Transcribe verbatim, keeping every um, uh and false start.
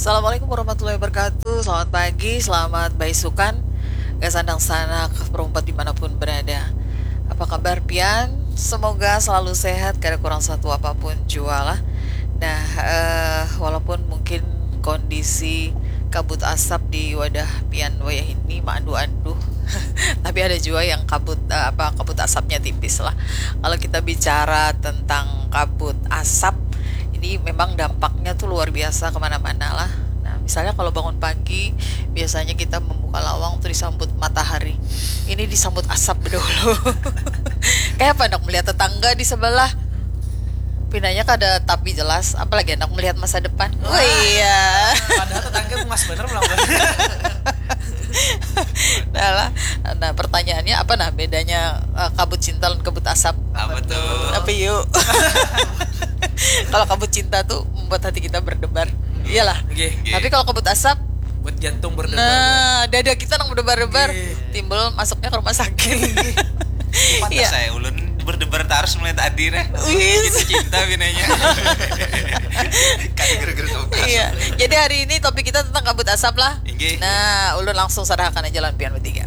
Assalamualaikum warahmatullahi wabarakatuh. Selamat pagi, selamat baisukan. Gasan dangsanak perumpat dimanapun berada. Apa kabar pian? Semoga selalu sehat, kada kurang satu apapun jua lah. Nah, eh, walaupun mungkin kondisi kabut asap di wadah pian wayah ini maandu-andu, tapi ada jua yang kabut, eh, apa, kabut asapnya tipis lah. Kalau kita bicara tentang kabut asap, ini memang dampaknya tuh luar biasa kemana-mana lah. Nah, misalnya kalau bangun pagi, biasanya kita membuka lawang tuh disambut matahari. Ini disambut asap dahulu. Kayak apa, nak melihat tetangga di sebelah? Pinanya kada tapi jelas, apalagi anak melihat masa depan. Wah, iya. Padahal tetangga bungas bener pulang. Nah lah. Nah, pertanyaannya apa, nah, bedanya, eh, kabut cinta dan kabut asap? Apa tuh? Tapi yuk. Kalau kabut cinta tuh membuat hati kita berdebar. Iyalah. Nggih. Tapi kalau kabut asap, buat jantung berdebar. Nah, dada kita nang berdebar-debar. Nggih. Timbul masuknya ke rumah sakit. Pantas. Iya. Saya ulun berdebar terus mulai tadi nih. Wis. Kita cinta binanya. Kada gara-gara kabut asap. Iya. Jadi hari ini topik kita tentang kabut asap lah. Inggih. Nah, ulun langsung sarahakan aja lawan pian bertiga.